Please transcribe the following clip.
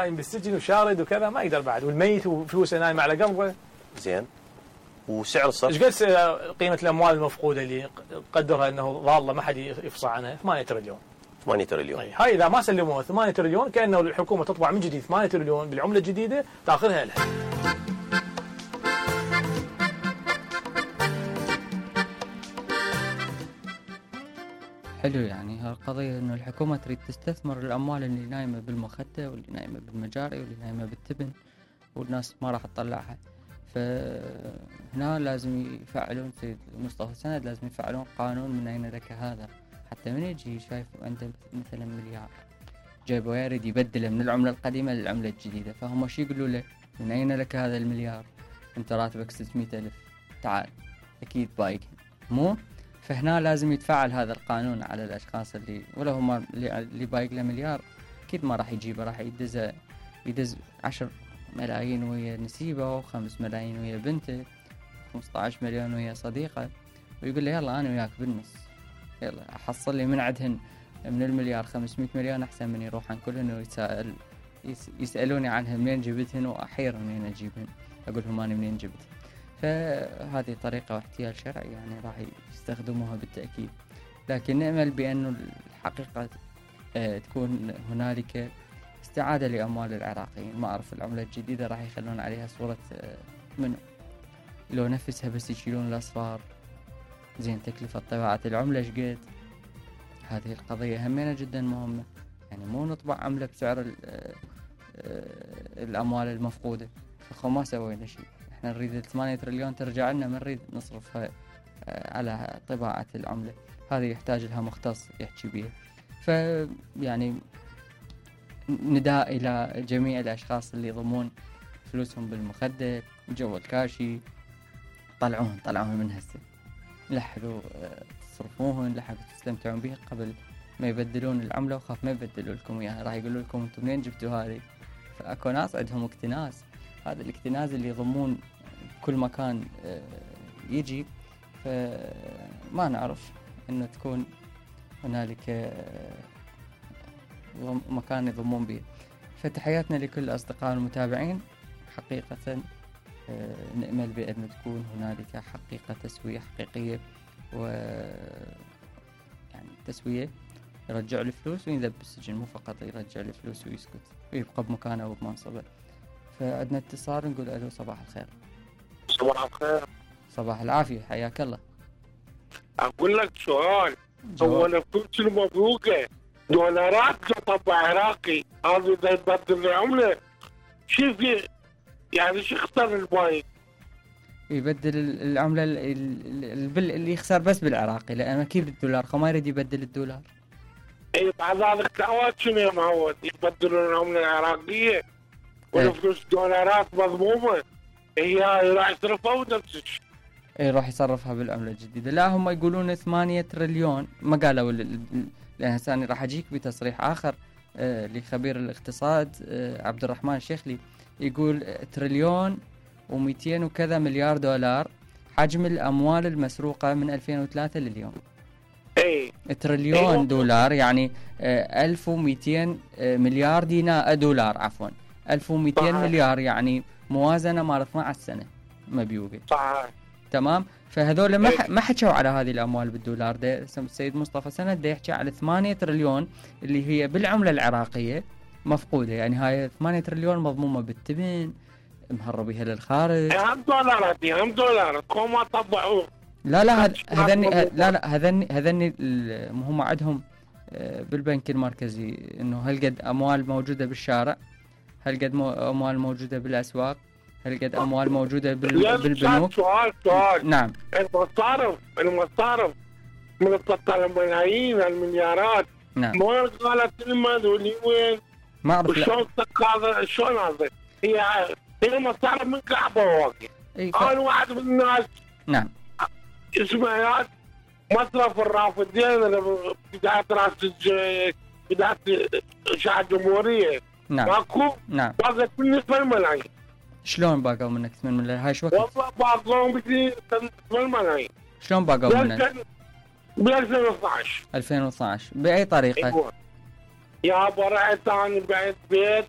نايم بالسجن وشارد وكذا ما يقدر بعد، والميت وفلوسه نايم على قلبه. زين. وسعر الصرف ايش قد قيمة الأموال المفقودة اللي قدرها أنه ضالة ما حد يفصح عنها؟ 8 تريليون. 8 تريليون. هاي إذا ما سلموها 8 تريليون كأنه الحكومة تطبع من جديد 8 تريليون بالعملة الجديدة تأخذها لها. حلو، يعني هالقضية إنه الحكومة تريد تستثمر الأموال اللي نايمة بالمخدة واللي نايمة بالمجاري واللي نايمة بالتبن، والناس ما راح تطلعها. فهنا لازم يفعلون، سيد مصطفى سند لازم يفعلون قانون من أين لك هذا، حتى من يجي شايف أنت مثلا مليار جايبه ويريد يبدله من العملة القديمة للعملة الجديدة، فهم شو يقولوا له؟ من أين لك هذا المليار؟ أنت راتبك 600,000، تعال أكيد بايق مو؟ فهنا لازم يتفعل هذا القانون على الأشخاص اللي ولا هم اللي بايق له مليار أكيد ما راح يجيبه، راح يدز 10 ملايين ويا نسيبه، و5 ملايين ويا بنته، 15 مليون ويا صديقه، ويقول له يلا أنا وياك بالنص، يلا أحصل لي من عدهن من المليار 500 مليون أحسن من يروحن كلهن يسألوني عنها منين جبتهن، وأحير منين أجيبهن، أقولهم أنا منين جبتهن. فهذه طريقة واحتيال شرعي يعني راح يستخدموها بالتأكيد، لكن نأمل بأن الحقيقة تكون هنالك استعادة لأموال العراقيين. ما أعرف العملة الجديدة راح يخلون عليها صورة منو، لو نفسها بس يشيلون الأصفار. زين، تكلفة طباعة العملة شقد؟ هذه القضية همينة جدا مهمة، يعني مو نطبع عملة بسعر الأموال المفقودة، فخو ما سوينا شيء. احنا نريد 8 تريليون ترجع لنا، ما نريد نصرفها على طباعة العملة، هذه يحتاج لها مختص يحكي بيها. فيعني نداء إلى جميع الأشخاص اللي يضمون فلوسهم بالمخدة جو الكاشي، طلعوهن من هسه، لحقوا تصرفوهن، لحقوا تستمتعون بها قبل ما يبدلون العملة، وخاف ما يبدلوا لكم إياها، راح يقولوا لكم أنتم منين جبتوا هذه. فأكو ناس عندهم اكتناز، هذا الاكتناز اللي يضمون كل مكان يجي، فما نعرف أنه تكون هنالك مكان يضمون به. فتحياتنا لكل الأصدقاء المتابعين، حقيقة نأمل بأن تكون هنالك حقيقة تسوية حقيقية، و يعني تسوية يرجع الفلوس وينذب بالسجن، مو فقط يرجع الفلوس ويسكت ويبقى بمكانه وبمنصبه. فعندنا اتصال، نقول ألو، صباح الخير. صباح الخير. صباح العافية، حياك الله. أقول لك سؤال، هو الفلوس المبروكة دولارات طبع عراقي، هذا إذا يبدل العملة شو في يعني شو يختار البايق؟ يبدل العملة اللي يخسر بس بالعراقي، لأنه أكيد الدولار ما يريد يبدل الدولار. اي بعد هذا التعوات شنو يا معود؟ يبدلون العملة العراقية والفلوس دولارات مضمومة، هي راح يصرفها ونفس الشيء. اي راح يصرفها بالعملة الجديدة. لا، هم يقولون 8 تريليون، ما قالوا لأن هسه راح أجيك بتصريح آخر لخبير الاقتصاد عبد الرحمن الشيخلي، يقول 1 تريليون و200 وكذا مليار دولار حجم الأموال المسروقة من 2003 لليوم. اي تريليون دولار يعني 1200 مليار دولار عفوا 1200 مليار، يعني موازنة مال 12 سنة مبيوقة. صحيح. تمام. فهذول ما حكوا على هذه الأموال بالدولار. ده السيد مصطفى سند ده يحكي على 8 تريليون اللي هي بالعملة العراقية مفقودة، يعني هاي 8 تريليون مضمومة بالتبن مهربيها للخارج. هم دولارات ما طبعوه. لا هذني هم عندهم بالبنك المركزي انه هل قد اموال موجودة بالشارع، هل قد اموال موجودة بالاسواق، هل قد اموال موجودة بالبنوك. سؤال نعم. المصارف من الملايين المليارات، نعم، ما قالت المال وين ما اعرف شلون هذا هي مصارف من كعبة واقع. انا واحد من الناس، نعم، اسمه مصرف الرافدين بداية بداية إشاعة الجمهورية. نعم ماكو. نعم. باقت مني 8 ملايين. شلون باقوا منك 8 ملايين؟ هاي شو وقت؟ والله باقوا مني 8 ملايين. شلون باقوا منك؟ ب 2012. 2012 بأي طريقة؟ أيوة. يا برعت أنا بعت بيت